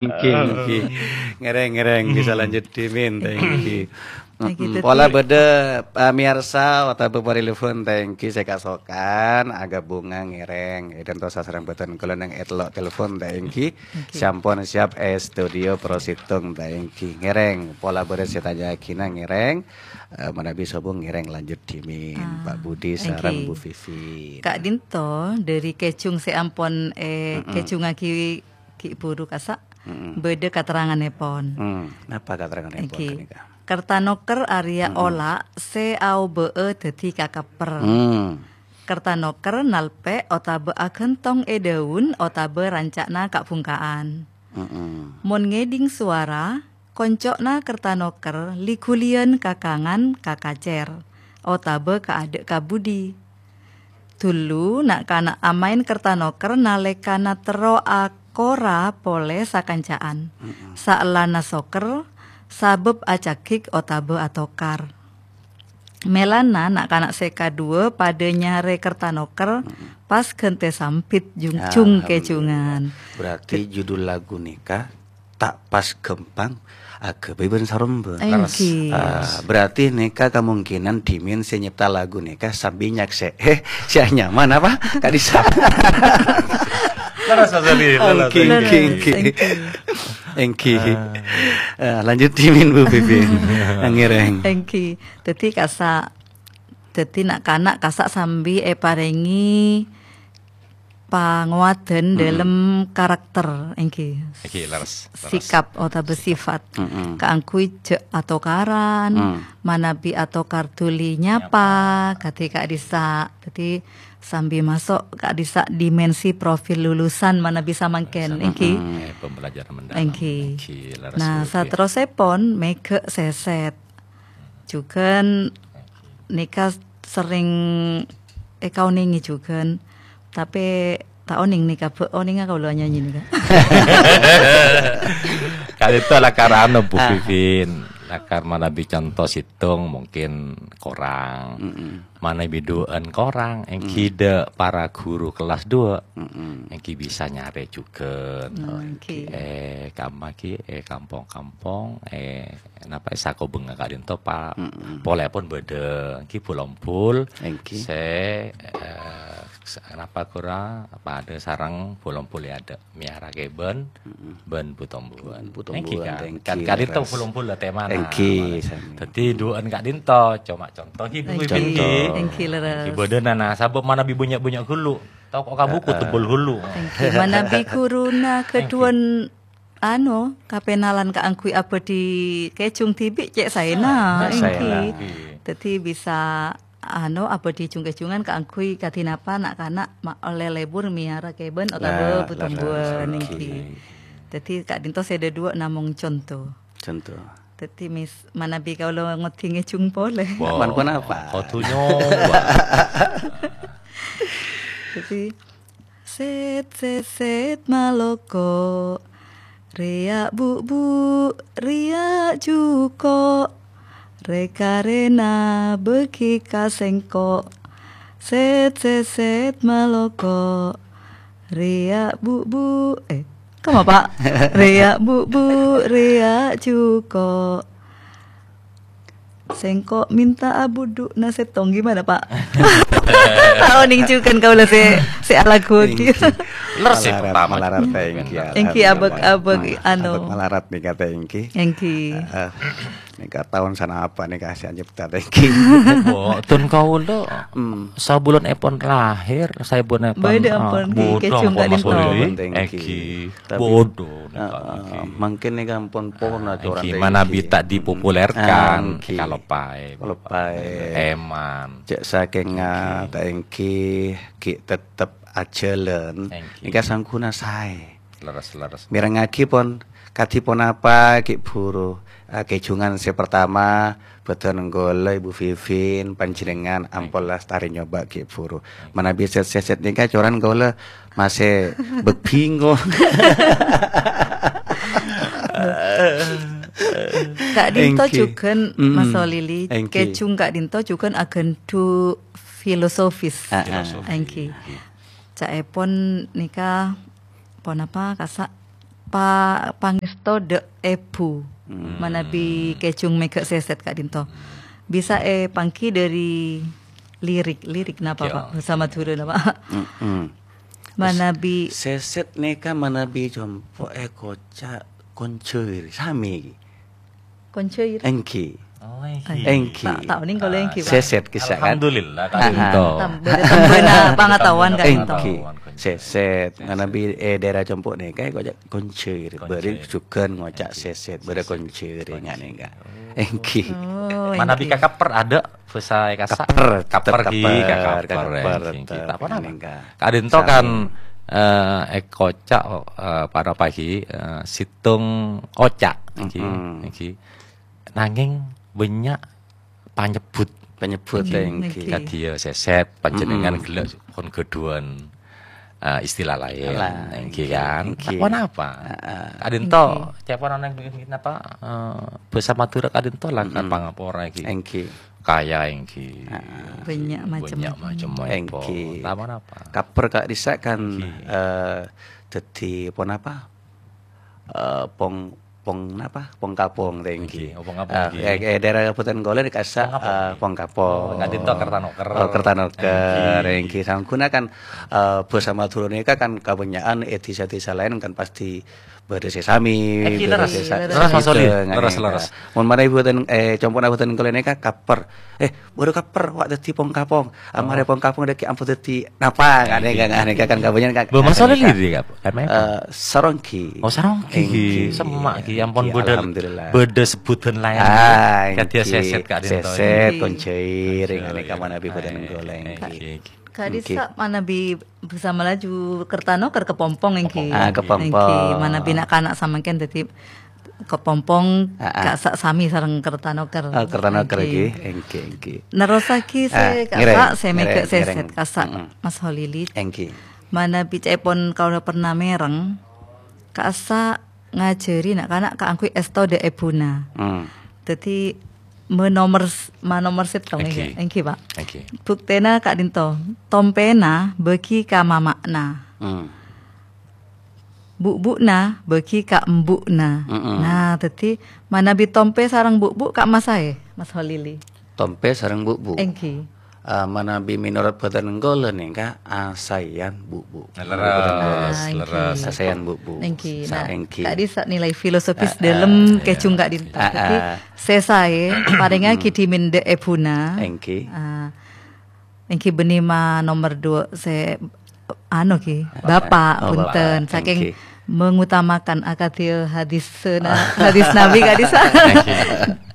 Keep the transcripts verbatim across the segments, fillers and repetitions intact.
Èngghi, èngghi. Ngèrèng, ngèrèng. Bisa lanjut dhimin, ta' èngghi. Èngghi, Mm-mm. Pola bâdâ, eh, miyarsa otabâ parelefon, ta' èngghi, sè kasokan, aghâbungnga ngèrèng. Èdhânto sasarèng bhâdhân kaulâ neng ètello' telepon, ta' èngghi. Èngghi. Sampon siap è studio Pro Situng, ta' èngghi. Ngèrèng, pola bâdâ sè tanya'aghina ngèrèng, eh, manabi sobung ngèrèng lanjut dhimin, Ah, Pak Budi èngghi. Sareng Bu Vivi. Ka'dinto, dâri kèjung sè ampon, eh, Mm-mm. kèjungaghi ghi' buru kasa', Mm-mm. bâdâ katerrangannèpon. Hmm, napa katerrangannèpon Èngghi. Ghânèka? Kertanoker arèya Mm-mm. ola' sè aobâ'â dhâddhi kakepper. Hmm. Kertanoker nalpè' otabâ aghântong è dâun otabâ ranca'na ka'-bhungka'an. Mm-mm. Mon ngèdhing sowara, konco'na kertanoker li-ghuliyân ka kangan ka kacèr, otabâ ka adâ' ka budi. Dhulu na'-kana' amaèn kertanoker nalèkana terro akora polè sakanca'an. Mm-mm. Saellana sokker, sabâb acagik otabâ atokar. Mèlana na'-kana' sè kaduwâ padâ nyarè kertanoker, Mm-mm. pas ghântè sambit jung-, Alhamdulillah. jung-kèjungan. Berarti judul lagu nèka ta' pas ghâmpang aghâbây bân saromba. Èngghi. Ah, berarti nèka kemungkinan dhimin sè nyipta lagu nèka sambi nyaksè'è sè anyaman apa? Ka'dissa'. Leres, Mas Adi, leres, Èngghi, èngghi. èngghi, èngghi. Èngghi. Èngghi. Ah. Ah, lanjut dhimin, Bu Vivi. Ngèrèng. Èngghi. Dhâddhi kasa', dhâddhi na'-kana' kasa' sambi èparèngè pangowadan Mm-mm. dâlem karakter, èngghi. Èngghi, leres, leres. Sikap otabâ Sikap. sifat. Mm-mm. Kaangghuy jhâ' atokaran, Mm. manabi atokar dhuli nyapa, Nyapa. kadhi ka'dissa'. Dhâddhi, sambi maso' ka'dissa' dimensi profil lulusan manabi samangkèn, Lulusan. èngghi. Mm-mm. Eh, pembelajaran mendalam. Èngghi. Èngghi, leres, Nah, Bu Vivi. saterrossèpon mèghâ' sèsèt. Jhughân nèka serrèng èkaonèngè jhughân. Tapè ta' onèng nèka, bâ' onèngnga kaulâ anyanyi nèka. Ka'dinto lakar anu, Bu Ah. Vivi. Lakar manabi conto sèttong mungkin korang. Mm-mm. Manabi duwâ'ân korang, èngghi Mm. dâ' para ghuru kellas duwâ'. Mm-mm. Èngghi bisa nyarè jhughân. Nah, èngghi. Eh, kamma ghi, eh, kampong-kampong, eh, napa, eh, sakobângnga ka'dinto pa-, Mm-mm. polèpon bâdâ, èngghi bul-ombul Èngghi. sè, eh, s-, napa ghuru padâ sareng bul-ombul è adâ', Mèyara Kèbân Mm-mm. bân Bu Tombuan. Bân Bu Èngghi, Tombuan, kan? èngghi, Kan ka'dinto leres. bul-ombul la tèmana. Èngghi, sami. Dhâddhi duwâ'ân ka'dinto, coma conto, èngghi, Bu Èngghi. Wiwin, Conto. èngghi. Èngghi, leres. Èngghi, bâdâna, nah, sabâb manabi bânnya'-bânnya' ghâllu. Tao kok kabuku Èngghi. tebel ghâllu. Èngghi, manabi ghuruna Èngghi. ghâdhuwân Ano, kapenalan kaangghuy abâdhi kèjung dhibi' cè' saèna, Cè' saèna. èngghi. Èngghi. Dhâddhi bisa, ano, abâdhi jung-kèjungan kaangghuy kadhi napa na'-kana' ma-, ollè lebur mèyara kèbân otabâ Lah, butombhuwân, leres, èngghi. èngghi. Dhâddhi ka'dinto sè dhâduwâ' namong conto. Conto. Dhâddhi mis-, manabi kaulâ ngodhi ngèjung polè. Wah, Man ponapa? kodhu nyoba. Dhâddhi, Sèt, sèt, sèt, maloko. Rèya' bu'-bu', rèya' jhuko'. Rè-karèna bâghi ka sèngko'. Sèt, sèt, sèt, maloko. Rèya' bu'-bu', eh, kemma, Pa'? Rèya' bu'-bu', rèya' jhuko'. Sèngko' mènta abudhu'na sèttong, gimana, Pa'? Tao nèng jhughân kaulâ sè, sè alaghuwâghi. Èngghi. Leres sè Malarat, pertama malarat, jhughân. èngghi, Èngghi, alhamdulillah. abâg-abâg, Hmm, anu. abâg malarat nèka ta' èngghi. Èngghi. Heeh. Nèka taon sanapa nèka sè anyepta ta' èngghi. Mboten kaulâ. Hmm. Sabulân èpon lahir, sabulân èpon, Bâdâ ah, ampon, èngghi, bâdâ kèjung ampon, ka'dinto. Mas Budi. Èngghi. Èngghi. Bâdâ. Bâdâ, nèka, Heeh, èngghi. mangkèn nèka ampon pona Ah, atoran èngghi, ta' manabi èngghi. ta' dipopulerkan, Ah, èngghi. Kalopaè, Kalopaè. Èman. Cè' sakèngnga Èngghi. ta' èngghi, ghi' tettep ajhâlân. Èngghi. Nèka sangguna saè. Leres, leres. Mèrengngaghi pon, kadhi ponapa ghi' bhuru. Ah, kèjungan sè pertama, bhâdhân kaulâ Ibu Vivin, panjhennengngan ampon Èngghi. lastarè nyoba ghi' bhuru. Manabi sèt-sèt nèka coran kaulâ masè bek bingo. Ka'dinto Èngghi. jhughân, Mm-mm. Mas Solili, Èngghi. kèjung ka'dinto jhughân aghândhu' filosofis. Ah, ah. Filosofi. Èngghi. Ca'èpon nèka ponapa kasa' pa-, pangèsto dâ' èbhu. Hmm. Manabi kèjhung mèghâ' sèsèt ka'dinto. Bisa èpangghi dâri lirik. Lirik napa, Pak? Bhâsa Madhurâ napa? Mm-mm. Manabi sèsèt nèka manabi compo' èkoca' konjhâir. Samè ghi. Konjhâir. Èngghi. Oh, èngghi. Èngghi. Ta', ta' onèng kaulâ èngghi, Pak. Sèsèt kissa kan. Alhamdulillah, Ah, ah. Ka'dinto. Tam-, bâdâ tambâna pangataowan ka'dinto. Èngghi. Sèsèt. Manabi è daerah compo' nèka èkoca' konjhâir. Konjhâir. Bâri' jhughân ngoca' sèsèt. Bâdâ konjhâir ènga' nèka. Oh. Èngghi. Oh, manabi èngghi. Kakapper adâ'? Bhâsa è kassa'? Kapper, tetep kapper ghi, kapper, kakapper, kakapper, èngghi, tetep ta' ponapa. Nèka. Ka'dinto kan, eh, èkoca', eh, ponapa ghi, eh, sèttong oca', èngghi, Mm-mm. èngghi. Nangèng bânnya' panyebbhut. Panyebbhut, Èngghi, èngghi. Èngghi. Kadhiyâ sèsèt, panjhennengngan Mm-mm. ghellâ' pon ghâdhuwân, eh, istilah laèn, Lah, èngghi èngghi, kan? Èngghi. Ponapa? Heeh. Ka'dinto, Èngghi. Ca'èpon ana èngghi napa, eh, bhâsa Madhurâ ka'dinto la Mm-mm. pangapora èngghi. Èngghi. Kaya èngghi. Heeh. Bânnya' macem. Bânnya' macem Èngghi. Èpon. Ta' ponapa? Kapper ka'dissa' kan, Èngghi. eh, dhâddhi ponapa? Eh, pong, pong napa? Pong kapong, èngghi. Èngghi, oh, pong kapong, Ah, èngghi. È, è daerah Kabupatèn Kolè nèka kassa', Pong kapong, eh, èngghi. Pong kapong. Oh, ka'dinto Kertanoker. Oh, Kertanoker, Èngghi. Èngghi. Saongghuna kan, eh, bhâsa Madhurâ nèka kan kabânnya'an è dhisa-dhisa laèn kan pastè bâdâ sè samè, Èngghi, bâdâ leres. Sè sa-, Leres, Mas Oli. Sè Leres, nèka. Leres. Mon manabi bhâten, eh, compo'na bhâten Kolè nèka kapper. Eh, bâdâ kapper, wa' dhâddhi pong kapong. Ammarè Oh. pong kapong dhâggi' ampon dhâddhi napa? Èngghi. Kan, kan, kan, kan, kabânnya'an kan. Bâ, Mas Oli Èngghi. Dhiri, Kak? M F M? Eh, Saronggi. Oh, Saronggi, Èngghi. Èngghi. Semma', ghi. Ampon Èngghi, bâdâ, alhamdulillah. Bâdâ sebbhudhân laèn, Ah, ghi. Kadhiyâ èngghi. Sèsèt ka'dinto. Sèsèt, Èngghi. Konjhâir, Konjhâir. Nèka manabi bhâten Èngghi. Engko' laèn, Èngghi. Èngghi. Ka'dissa' Èngghi. Manabi bhâsa Malaju Kertanoker kepompong, èngghi. Ah, kepompong. Èngghi, manabi na'-kana' samangkèn dhâddhi kepompong Ah, ah. ka'issa' samè sareng Kertanoker. Ah, Kertanoker, Èngghi. Èngghi. Èngghi, èngghi. Nerrossaghi sè Ah, ka'issa' ngèrèng, sè mèghâ' ngèrèng, sèsèt ngèrèng. Ka'issa', Mm-mm. Mas Holili. Èngghi. Manabi ca'èpon kaulâ pernah mèreng, ka'issa' ngajhâri na'-kana' kaangghuy èsto dâ' èbhuna. Hmm. Dhâddhi, manomer s-, manomer sèttong, Èngghi. Èngghi, Pak. Èngghi. Buktèna ka'dinto, tompèna bâgi ka mama'na. Hmm. Bu'-bu'na bâgi ka embu'na. Mm-mm. Nah, dhâddhi manabi tompè sareng bu'-bu' ka'emma saè, Mas Holili? Tompè sareng bu'-bu'. Èngghi. Ah, manabi mènorot bhâten engko' nèka asaèyan bu'-bu'. Leres, Manabi bhâten engko'. Ah, èngghi. Leres. Asaèyan bu'-bu'. Èngghi. Sa-, Nah, èngghi. Ka'dissa' nilai filosofis Ah, ah. dâlem Iya. kèjhung ka'dinto. Ah, Dhâddhi, ah. sè saè, parèngaghi Hmm. dhimèn dâ' èbhuna. Èngghi. Ah, Èngghi bânnè ma nomer dua sè, anu, ghi, Bapak. Bapak, Oh, punten. Bapak. Saking Èngghi. mengutamakan akadhi hadis na-, hadis Nabi ka'dissa'. Èngghi.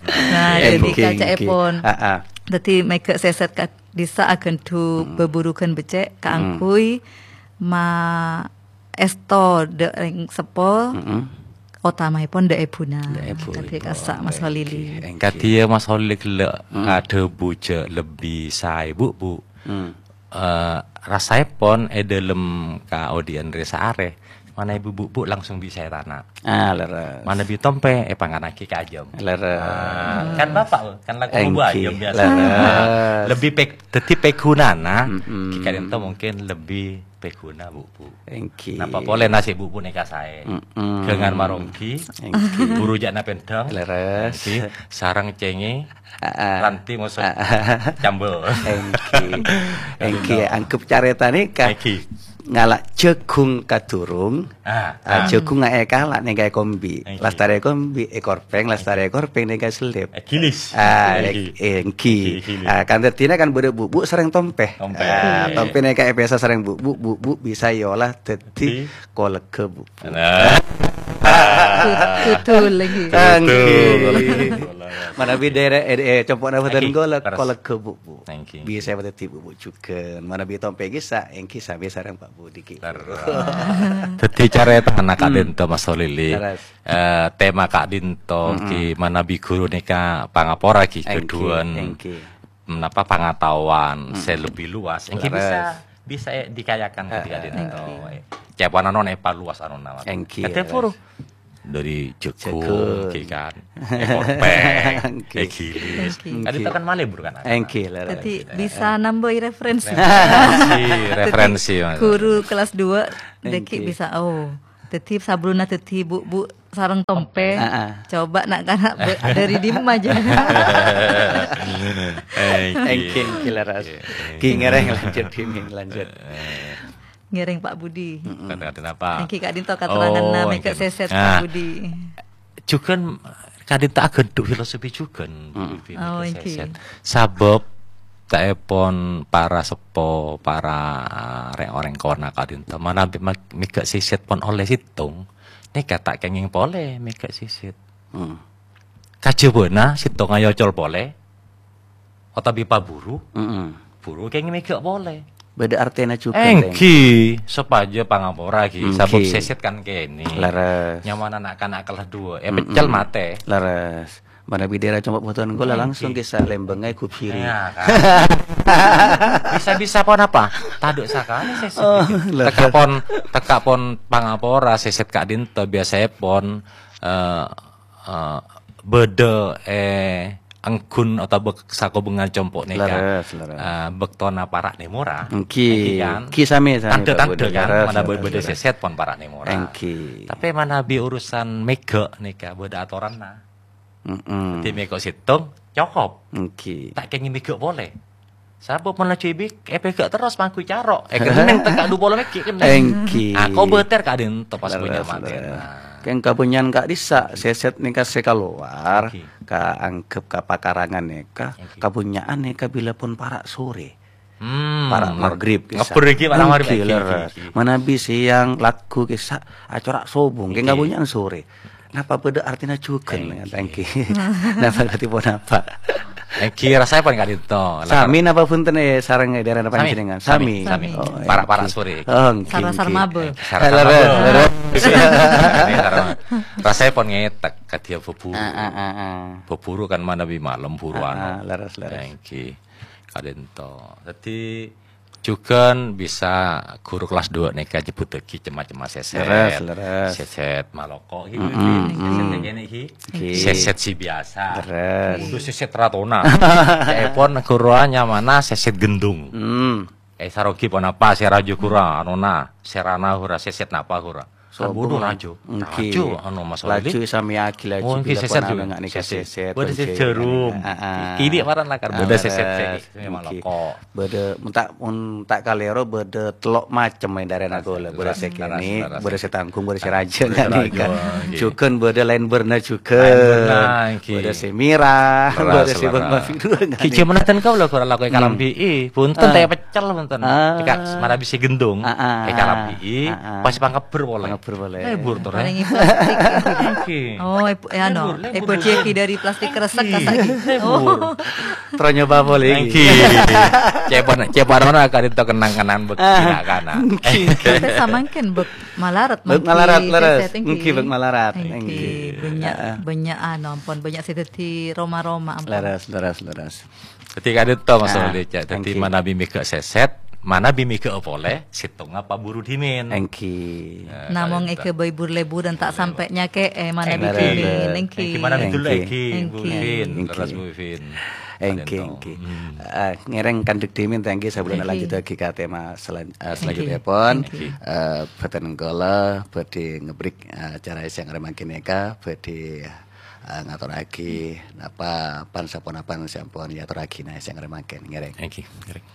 Nah, Èngghi, jadi èngghi. kaca'èpon. Ah, ah. Jadi mèghâ' sèsèt ka'dissa' aghândhu Hmm. bhâbhurughân beccè' Hmm. kaangghuy ma èsto dâ' rèng seppo, Mm-mm. otamaèpon dâ' èbhuna. Dâ' èbhu. Kadhi kassa' Mas Holili. Èngghi, èngghi. Kadhi ya Mas Holili ghellâ' Mm. adhâbu jhâ' lebbi saè bu'-bu'. Mm. Eh, rasaèpon è dâlem kaodi'ân rè-saarè, manabi bu'-bu' langsung bi' saè tana'. Ah, leres. Manabi tompè, èpangannaghi ka ajâm. Leres. Ah, kan Bapak, kan lagu Èngghi, bu ajâm biasa. leres. Lebbi pè-, dhâddhi pèghunana, Mm-mm. ghi ka'dinto mungkin lebbi pèghuna, bu'-bu'. Èngghi. Napa polè nasib bu'-bu' nèka saè. Mm-mm. Ghângan maronggi, Èngghi. buru jhâ' na pèndhâng. Leres. Èngghi. Sareng cèngè, Ah, ah. ranti mosok Ah, ah. cambel. Èngghi. Èngghi, Ka'dinto. anggep carèta nèka. Èngghi. Ngala' jhâghung kadurung. Ah, Ah, ah. jhâghung aè kala' nèka èkombi. Èngghi. Lastarè èkombi, èkorpèng, lastarè èkorpèng nèka èsellep. Èghilis. Ah, Èngghi. èngghi. Èngghi, èghilis. Ah, kan dhâddhina kan bâdâ bu'-bu' sareng tompè. Tompè. Ah, Èngghi. tompè nèka èpèsa sareng bu'-bu', bu'-bu' bisa èola dhâddhi Èngghi. koleggâ bu'-bu'. Nah. Kudul lagi. Èngghi. Kudul. Manabi dârâ, eh, eh, compo'na bhâdhân Èngghi. kaulâ, Leres. koleggâ bu'-bu'. Èngghi. Bisa èpadhâddhi bu'-bu' jhughân. Manabi tompè ghi sa, èngghi sambi sareng Pak Budi. Leres. Dhâddhi carètana Hmm. ka'dinto Mas Holili. Leres. Eh, tema ka'dinto Hmm. ghi manabi ghuru nèka pangapora ghi Èngghi, ghâdhuwân èngghi. napa pangataowan Hmm. sè lebbi luas. Èngghi Leres. bisa, bisa, eh, dikayakan Heeh. ka'dinto. Èngghi. Ca'èpon anona èpaluas anona. Èngghi, Kadhi leres. puru. Dâri jhâghung, Jhâghung. èngghi kan. Èkorpèng, Èngghi. èghilis. Èngghi. Ka'dinto kan malè buru kan. Èngghi, leres. Dhâddhi bisa nambahi referensi. Referensi, referensi, Dhâddhi Mas. ghuru kelas dua, dhâggi' Èngghi. bisa, oh, Dhâddhi, sabellunna dhâddhi bu'-bu' sareng tompè, Heeh. coba na'-kana' bâ-, dâri dimma jâ? Èngghi. Èngghi, èngghi, leres. Èngghi, èngghi. Ki ngèrèng lanjut, Ki ngèrèng lanjut. Ngèrèng, Pak Budi. Mm-mm. Kata-kata apa? Èngghi ka'dinto kateranganna Oh, Mega èngghi. Sèsèt, Pak Nah, Budi. Jhughân ka'dinto aghândhu' filosofi jhughân, Mm-mm. Budi, Oh, Mega èngghi. Sèsèt. Sabâb, ca'èpon para seppo, para, ah, rè-, orèng kowana ka'dinto, manabi ma-, Mega Sèsèt pon ollè sèttong, nèka ta' kèngèng polè Mega Sèsèt. Hmm. Kajhâbâna sèttongnga èocol polè, otabâ paburu, Mm-mm. buru kèngèng mèghâ' polè. Bâdâ artèna jhughân, Tèng. Èngghi, sopajâ pangapora, ghi. Èngghi. Sabâb Sèsèt kan kènè'. Leres. Nyamana na'-kana' kellas duwâ', è Mm-mm. peccel matè. Leres. Manabi dârâ compo' bhunten kaulâ Èngghi. langsung kèsa lèmbângnga èghubiri. Iyâ, kan. Bisa-bisa pon apa? Tadâ' sakalè Sèsèt Oh, ghi. leres. Tekka' pon, tekka' pon pangapora Sèsèt ka'dinto biyasaèpon, eh, eh, bâdâ, eh, èngghun otabâ bâk-, sakobhângan compo' nèka, Leres, leres. eh, bâktona para' nèmora. Èngghi. Èngghi, kan? Èngghi samè, samè, Tandhâ-tandhâ, Pak Budi. kan? Leres, Manabi leres, bâdâ leres. Sèsèt pon para' nèmora. Èngghi. Tapè manabi urusan mèghâ' nèka bâdâ atoranna. Mm-mm. Dhâddhi mèghâ' sèttong, cokop. Èngghi. Ta' kèngèng mèghâ' polè. Sabâb mon laju èbik-, èpèghâ' terros mangghu caro'. Èkennèng tekka' dhu polo mèghi' kennèng. Èngghi. Ah, kobâtèr ka'dinto pas Leres, bânnya' matèna. leres. Kèng kabânnya'an ka'dissa', Sèsèt nèka sè kalowar, Èngghi. kaanggep ka pakarangan nèka, Èngghi. kabânnya'an nèka bilâ pon para' sorè. Hmm, Para' mar-, magrib, kèsa. ngebbhur èngghi para' magrib, Èngghi, èngghi, leres. èngghi. Manabi sèyang lagghu kèsa acora' sobung, kèng Èngghi. kabânnya'an sorè. Napa bâdâ artèna jhughân? Èngghi. Èngghi. Napa katèpon apa? Èngghi, rasaèpon ka'dinto. Sami napa bhunten, eh, sareng è dârâna Sami, panjhennengngan? sami, Sami. sami. Oh, Para'-para' èngghi. sorè. Oh, èngghi, Sara-sara èngghi. mabâ. Èngghi, sara-sara Leres, mabâ. leres. Èngghi, sara-, rasaèpon ngètek kadhiyâ bhâbhuru. Ah, ah, ah, ah. Bhâbhuru kan manabi malem buru Ah, anu. ah, leres, leres. Èngghi. Ka'dinto. Dhâddhi, jhughân bisa ghuru kellas duwâ' nèka nyebbhuttaghi cem-macemma sèsèt. Leres, leres. Sèsèt maloko, ghi, Mm-mm, ghi. Sèsèt mm. kènè', ghi. Ghi. Sèsèt sè biyasa. Leres. Kodhu sèsèt ratona. Ca'èpon ghuru nyamana sèsèt gendhung. Mm. Eh, sarogi ponapa sè raju ghuru, anona, sèrana ghuru, sèsèt napa ghuru? Sobung. Kan bodo raju. Èngghi. Raju, anu, Mas Walid. Laju èsamèyaghi laju Oh, èngghi, bilâ sèsèt, pon Ju. anu nga'nè ka Sèsèt. sèsèt, Bâdâ sè èngghi. jhârum. Ah, ah. Kènè' paran lakar, Ah, bâdâ sèsèt, leres. sè, sè Èngghi. maloko. Bâdâ, menta-, mon ta' kalèro bâdâ tello' macem è dârâna Leres, kaulâ. Bâdâ sè leres, kènè', leres. bâdâ sè tangghung, bâdâ sè rajâ Bâdâ sè nga'nè rajâ, ka. èngghi. Jhughân bâdâ laèn bârna jhughân. Laèn bârna, èngghi. Bâdâ sè mèrah, Leres, bâdâ sè leres. bân mabiru nga'nè. Ki jhâman ten kaulâ ghuru lako è Hmm. Karambi'i, bhunten Ah. ta' pèccel bhunten. Ah. Èka manabi sè gendhung, Ah, ah, èka ah. Rabi'i, Ah, ah. pas pangebbher polè. Pangebbher polè. Lebur to, Rè. Paling plastik. Èngghi. Oh, èb-, eh, anu, Lebur, lebur, èbâdhiyâghi lebur. dâri plastik kresek Èngghi, kasa' ghi. lebur. Oh. Terus nyoba polè, Èngghi. Ca'èpon, ca'èpon anu ka'dinto kenang-kenangan bâk Ah. kana-kana. Èngghi. Sampè' samangkèn bâk malarat, Bâk manggi malarat, leres. sèsèt, èngghi. Èngghi, bâk malarat, Èngghi, èngghi. bânnya', Ah, ah. bânnya' anu, ampon, bânnya' sè dâddhi roma-roma, ampon. Leres, leres, leres. Dhâddhi ka'dinto, Mas Ah, Rodi, Cak. Dhâddhi èngghi. manabi mèghâ' sèsèt, manabi mèghâ' polè, sèttongnga paburu dhimèn. Èngghi. Eh, Namong ka'dinto. èghâbây bur-lèburan ta' Èngghi. sampè' nyakè'è manabi Leres. dhimèn, èngghi. Èngghi, manabi Èngghi. dhullu, èngghi. Èngghi. Mungkin, Èngghi. leres, mungkin. Èngghi, Ka'dinto. èngghi. Hmm. Eh, ngèrèng kandhek dhimèn, ta' èngghi, sabellunna Èngghi. lanjhuttaghi ka tema selan-, eh, Èngghi. selanjutèpon. Èngghi. Eh, bhâdhân kaulâ bhâdhi ngebrik, eh, acara sèyang arè mangkèn nèka, bhâdhi eh, ngatorraghi napa pan-saponapan sè ampon èatorraghi nè sè ngarè mangkèn, ngèrèng. Èngghi, ngèrèng.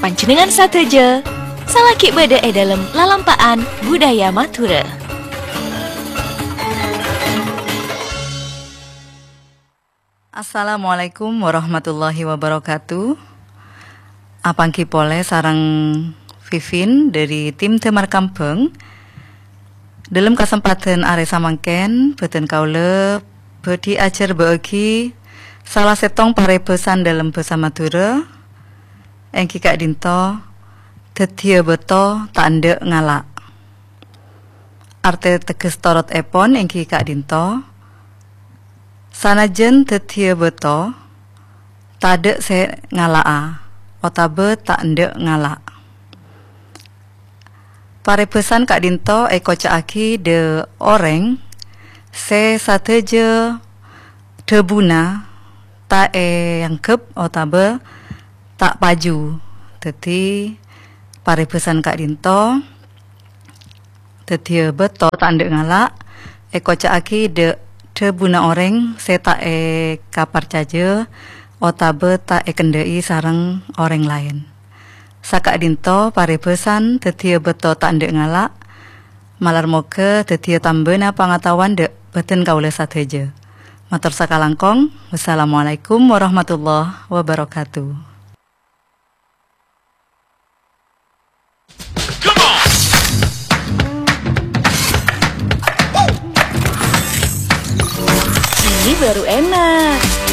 Panjhennengngan sadhâjâ, salaghi bâdâ è dâlem lalampa'an budaya Madhurâ. Assalamualaikum warahmatullahi wabarakatuh. Apangghi polè sareng Vivin dâri tim Damar Kambâng. Dâlem kasempadhân arè samangkèn, bhâdhân kaulâ bhâdhi ajhârbâ'âghi sala sèttong parèbhâsan dâlem bhâsa Madhurâ, èngghi ka'dinto, dhâddhiyâ bâto ta' endâ' ngala'. Artè tegghes torotèpon èngghi ka'dinto, sanajjhân dhâddhiyâ bâto, tadâ' sè ngala'a, otabâ ta' endâ' ngala'. Parèbhâsan ka'dinto èkoca'aghi dâ' orèng sè sadhâjâ dhâbuna ta' èangghep otabâ ta' paju. Dhâddhi, parèbhâsan ka'dinto, Dhâddhiyâ bâto ta' endâ' ngala', èkoca'aghi dâ', dhâbuna orèng sè ta' èkaparcajâ otabâ ta' èkendâ'i sareng orèng laèn. Saka'dinto parèbhâsan dhâddhiyâ bâto ta' endâ' ngala', malar moghâ dhâddhiyâ tambâna pangataowan dâ' bâdân kaulâ sadhâjâ. Mator sakalangkong, wassalamualaikum warahmatullahi wabarakatuh. Ini baru enak.